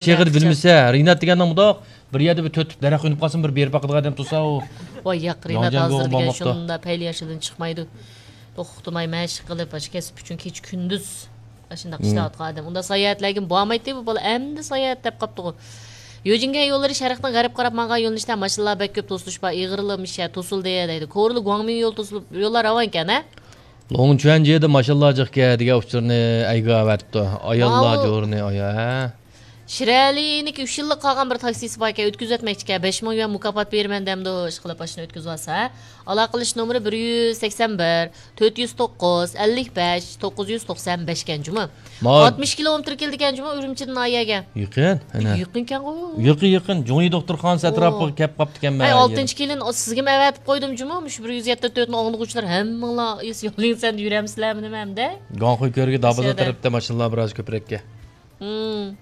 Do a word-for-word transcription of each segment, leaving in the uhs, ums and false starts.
شېخىدا بىلمىسە، رىنات دېگەننىڭ مۇنداق بىر يەردە بىر تۆت تۈپ دەرەخ ئۈنۈپ قالسا، بىر بېرىپ باقىدىغان ئادەم تۇرسا، ئۇ ۋاي ياق، رىنات ھازىر دېگەن شۇنداق پەيلى ياشىدىن چىقمايدۇ. توختىماي مەشىق قىلىپ، ئاشۇ كەسىپ ئۈچۈن كېچە كۈندۈز ئاشۇنداق ئىشلەۋاتقان ئادەم. ئۇنداق ساياھەتلەرگە بارمايتتى، بۇ بالا ئەمدى ساياھەت دەپ قاپتىغۇ. يۆجىنگەن يوللىرى شەرقتىن غەربكە قاراپ ماڭغان يۆنىلىشتە ماشىنىلار بەك كۆپ توسۇلۇش بار، ئېغىرلىمىشە توسۇلدى دەيدۇ. كورلا گۇاڭمىڭ يولى توسۇلۇپ، يوللار راۋانكەن ھە؟ لوڭچۈەنجيېدە ماشىنىلار جىق كەن دېگەن ئۇچۇرنى ئەيگە ئەۋەتىپتۇ. ئاياللار جورىنى ئايا ھە. شىرئەلىنىڭكى ئۈچ يىللىق قالغان بىر تاكسىسى باركەن، ئۆتكۈزۈۋەتمەكچىكەن، بەش مىڭ يۈەن مۇكاپات بېرىمەن دەمدۇ، ئىشقىلىپ ئاشۇنى ئۆتكۈزۈۋالسا. ئالاقىلىشىش نومۇرى بىر يۈز سەكسەن بىر، تۆت يۈز توققۇز، ئەللىك بەش، توققۇز يۈز توقسان بەش كەن جۇمۇ. ئاتمىش كىلومېتىر كېلىدىكەن جۇمۇ ئۈرۈمچىدىن ئايەگە. يېقىن، ئەنە. يېقىنكەنغۇ. يېقىن، يېقىن. جۇڭيى دوختۇرخانىسى ئەتراپىغا كەپ قاپتىكەن مەن. ئەي، ئالتىنچى كېلىن، سىزگىمۇ ئەۋەتىپ قويدۇم جۇمۇ، مۇشۇ بىر يۈز يەتتە تۆتنى ئاڭلىغۇچىلار ھەممىڭلار ئېس يولىڭىزدىن يۈرەمسىلەرمۇ نېمە ئەمدى؟ گۇاڭخۇي كۆرگە دابازا تەرەپتە ماشىنىلار بىراز كۆپرەككەن. ھىم.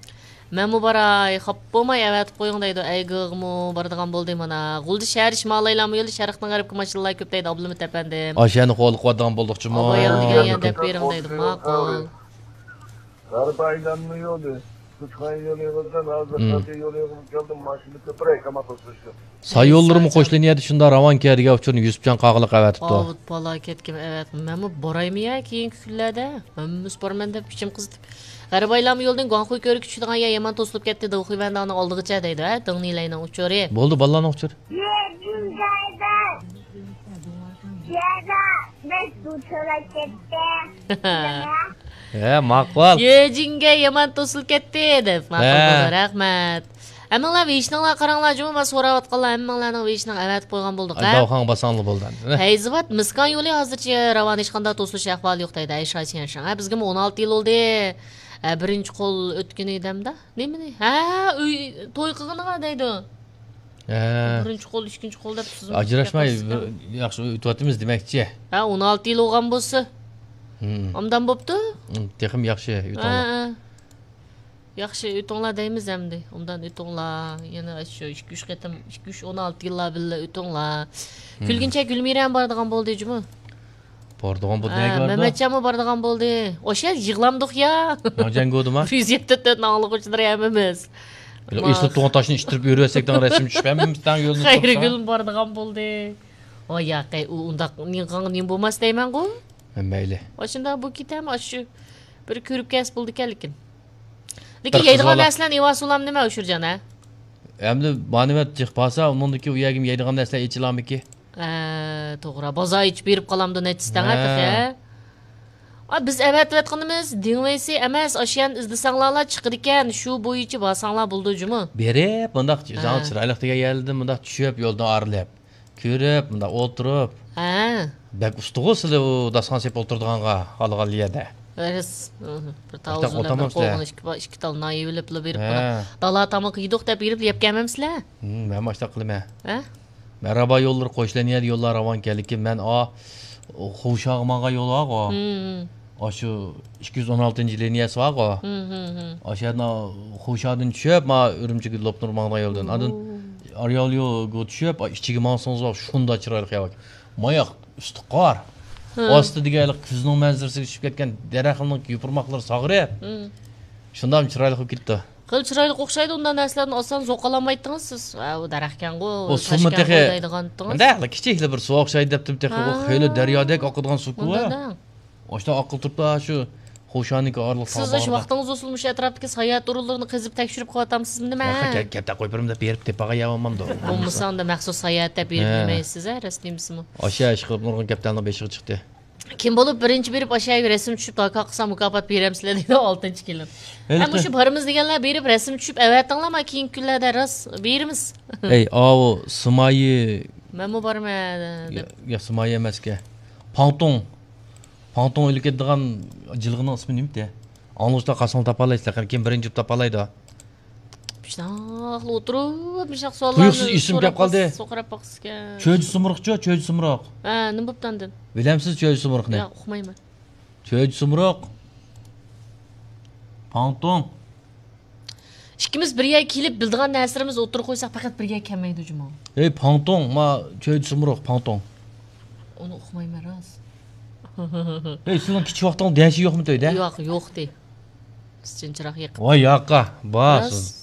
مەنمۇ باراي، خاپا بولماي ئەۋەتىپ قويۇڭ دەيدۇ. ئەيگىغىمۇ بارىدىغان بولدى مانا. غۇلجا شەھەر شىمالىي ئايلانما يولى شەرقتىن غەربكە ماشىنىلار كۆپ دەيدۇ، ئابلىمىت ئەپەندىم. ئاشۇ يەرنى قوغلىقىۋاتىدىغان بولدۇقچۇمۇ؟ ئابايام دېگەن يەر دەپ بېرىڭ دەيدۇ. ماقۇل. غەرب ئايلانما يولى، كۇچخان يولى يىغىلدىم، ھازىر خەلقىي يول يىغىلىپ كەلدىم، ماشىنا كۆپرەك، ئەمما توسۇشتۇم. ساي يوللىرىمۇ قوشلىنىۋاتىدۇ، شۇنداق راۋانكەن دېگەن ئۇچۇرنى يۈسۈپجان قاغىلىق ئەۋەتىپتۇ. ئاۋۇت بالا كەتكىم ئەۋەت. مەنمۇ بارايمۇ يا كېيىنكى كۈنلەردە؟ ھەممىسى بارىمەن دەپ ئىچىم قىزىتىپ. غەرب ئايلانما يولىدىن گۇاڭخۇي كۆرۈككە چۈشىدىغان يەر يامان توسۇلۇپ كەتتى، داۋخۇي ۋەنداڭنىڭ ئالدىغىچە دەيدۇ، ھە؟ دىڭ نىلەينىڭ ئۇچۇرى. بولدى، بالىلارنىڭ ئۇچۇرى. ھە، ماقۇل. يۆجىنگە يامان توسۇلۇپ كەتتى دەپ ماقۇل بولدى، رەھمەت. ھەممىڭلار ۋېيشنىڭلار قاراڭلار جۇمۇ، مانا سوراۋاتقانلار ھەممىڭلارنىڭ ۋېيشنىڭ ئەۋەتىپ قويغان بولدۇق، ھە؟ داۋخاڭ باساڭلار بولدى ئەمدى. پەيزىۋات مىسكان يولى ھازىرچە راۋان، ھېچقانداق توسۇلۇش ئەھۋالى يوق دەيدۇ، ئەي شاشيەنشىڭ. ھە، بىزگىمۇ ئون ئالتە يىل بولدى. ھە، بىرىنچى قول ئۆتكىنى دەمدە. نېمىنى؟ ھە، ئۆي توي قىلغىنىغا دەيدۇ. ھە. بىرىنچى قول، ئىككىنچى قول دەپ سىزمۇ ئاجراشماي، ياخشى ئۆتۈۋاتىمىز دېمەكچى. ھە، ئون ئالتە يىل بولغان بولسا. ئوبدان بوپتۇ. تېخىمۇ ياخشى ئۆتۈڭلار. ھە، ھە. ياخشى ئۆتۈڭلار دەيمىز ئەمدى. ئوبدان ئۆتۈڭلار. يەنە شۇ ئىككى، ئۈچ قېتىم، ئىككى، ئۈچ، ئون ئالتە يىللار بىللە ئۆتۈڭلار. كۈلگىنچە گۈلمىرەمۇ بارىدىغان بولدى جۇمۇ. بارىدىغان بولدى، ھە، نەگە بارىدۇ؟ مەمەتجانمۇ بارىدىغان بولدى. ئوشۇ يەردە يىغلاندۇق يا. جەڭگۇدىما؟ بىر يۈز يەتتە تۆتنى ئاڭلىغۇچىلىرى ھەممىمىز. ئېسىلىپ تۇرغان تاشنى ئىتتىرىپ يۈرۈۋەتسەك، تەڭ رەسىم چۈشۈپ ھەممىمىز تەڭ يولدىن چىقىپسىز. خەيرىگۈلمۇ بارىدىغان بولدى. ۋاي ياقەي، ئۇ ئۇنداق نېمە بولماس دەيمەنغۇ. ھە، مەيلى. ئاشۇنداق بۇ كېتەم، ئاشۇ بىر كۆرۈپ كەلسە بولىدىكەن لېكىن. لېكىن يەيدىغان نەرسىلەرنى ئېۋالسۇلام نېمە ئۇشۇرجان ھە؟ ئەمدى مانىۋەت جىق بارسا، ئۇنىڭدىكى ئۇ يەرگىمۇ يەيدىغان نەرسىلەر ئېچىلامىكى؟ ھە، توغرا. بازار ئېچىپ بېرىپ قالامدۇ نەچچىسى تەڭ ھە تېخى؟ ئا، بىز ئەۋەتىۋاتقىنىمىز دىڭۋېيسى ئەمەس، ئاشۇ يەرنى ئىزدىسەڭلارلا چىقىدىكەن، شۇ بويىچە بارساڭلار بولىدۇ جۇمۇ. بېرىپ، مۇنداق چىرايلىق دېگەن يەردىن مۇنداق چۈشۈپ، يولدىن ئارىلىپ، كۆرۈپ، مۇنداق ئولتۇرۇپ. ھە. بەك ئۇستىغۇ سىلى ئۇ داستىخان سېلىپ ئولتۇرىدىغانغا، خالىغان يەردە. راست. بىر تاۋۇزنى بىر قوغۇن، ئىككى، ئىككى تال نان يېۋېلىپلا بېرىپ، ھە، دالا تامىقى يېدۇق دەپ بېرىپ يەپ كەلمەمسىلەر؟ مەن ئاشۇنداق قىلىمەن. ھە؟ مەرھابا يوللىرى قوشلىنىيە يوللار راۋانكەن، لېكىن مەن ئا، خوشاغا ماڭغان يول بارغۇ. ئاشۇ ئىككى يۈز ئون ئالتىنچى لىنىيەسى بارغۇ. ئاشۇ يەردىن خوشادىن چۈشۈپ، ما ئۈرۈمچىگە لوپنۇر ماڭغان يولدىن. ئاندىن ئارياليوغا چۈشۈپ، ئىچىگە ماڭسىڭىز، شۇنداق چىرايلىق يەر بار. ماياق ئۈستى قار. ئاستى دېگەنلىك كۈزنىڭ مەنزىرىسىگە چۈشۈپ كەتكەن دەرەخنىڭ يوپۇرماقلىرى ساغىرىپ، شۇنداق چىرايلىق بولۇپ كېتىپتۇ. خېلى چىرايلىق ئوخشايدۇ، ئۇنداق نەرسىلەرنى ئاسان زوقالالمايتتىڭىز سىز. ھە، ئۇ دەرەخكەنغۇ، ئۇ سۇمۇ تېخى دەرەخ كىچىكلا بىر سۇ ئوخشايدۇ دەپتىم تېخى. ئۇ خېلى دەريادەك ئاقىدىغان سۇكۇ. ئاشۇنداق ئاققىلى تۇرۇپتۇ شۇ خوشانىڭكى ئارىلىق. سىز ئاشۇ ۋاقتىڭىز بولسىمۇ مۇشۇ ئەتراپتىكى ساياھەت ئورۇنلىرىنى قېزىپ تەكشۈرۈپ قىلىۋاتامسىزمۇ نېمە؟ كەپتە قويۇپ بېرىمدە بېرىپ تېپىغان يەر بولمامدۇ؟ بولمىسا ئۇندا مەخسۇس ساياھەت دەپ بېرىپ نېمە دەيسىز ھە، راست دېمىسىمۇ؟ ئاشۇ ئىشقىلىپ نۇرغۇن كەپتەرنىڭ بېشىغا چىقتى. كىم بولۇپ بىرىنچى بېرىپ ئاشۇ يەرگە رەسىم چۈشۈپ داكا قىلسا مۇكاپات بېرەمسىلەر دەيدۇ ئالتىنچى كېلىن. ھە، مۇشۇ بارىمىز دېگەنلەر بېرىپ رەسىم چۈشۈپ ئەۋەتىڭلار، ما كېيىنكى كۈنلەردە راست بېرىمىز. ئەي، ئاۋۇ سىمايى. مەنمۇ بارىمەن دەپ. يا، سىمايى ئەمەسكەن. پاڭتۇڭ. پاڭتۇڭ ئېلىپ كېتىدىغان جىلغىنىڭ ئىسمى نېمىتى؟ ئاڭلىغۇچىلار قالساڭلار تاپالايسىلەر، قېنى كىم بىرىنچى بولۇپ تاپالايدۇ؟ مۇشۇنداقلا ئولتۇرۇپ مۇشۇنداق سوئاللارنى تۇيۇقسىز ئېسىمگە كەپ قالدى. سوقۇراپ باقسىكەن. چۆجى سۇمرۇقچۇ، چۆجى سۇمرۇق. ھە، نېمە بوپتۇ ئاندىن؟ بىلەمسىز چۆجى سۇمرۇقنى؟ ياق، ئۇقمايمەن. چۆجى سۇمرۇق. پاڭتۇڭ. ئىككىمىز بىر يەرگە كېلىپ بىلىدىغان نەرسىلىرىمىزنى ئوتتۇرىغا قويساق پەقەت بىر يەرگە كەلمەيدۇ جۇمۇ. ھەي پاڭتۇڭ، ما چۆجى سۇمرۇق، پاڭتۇڭ. ئۇنى ئۇقمايمەن راست. ھەي سېنىڭ كىچىك ۋاقتىڭدا دەشە يوقمۇ تۆيدە؟ ياق، يوقتى. قىزچىن چىراغ يېقىپ. ۋاي ياقا، باس. راست.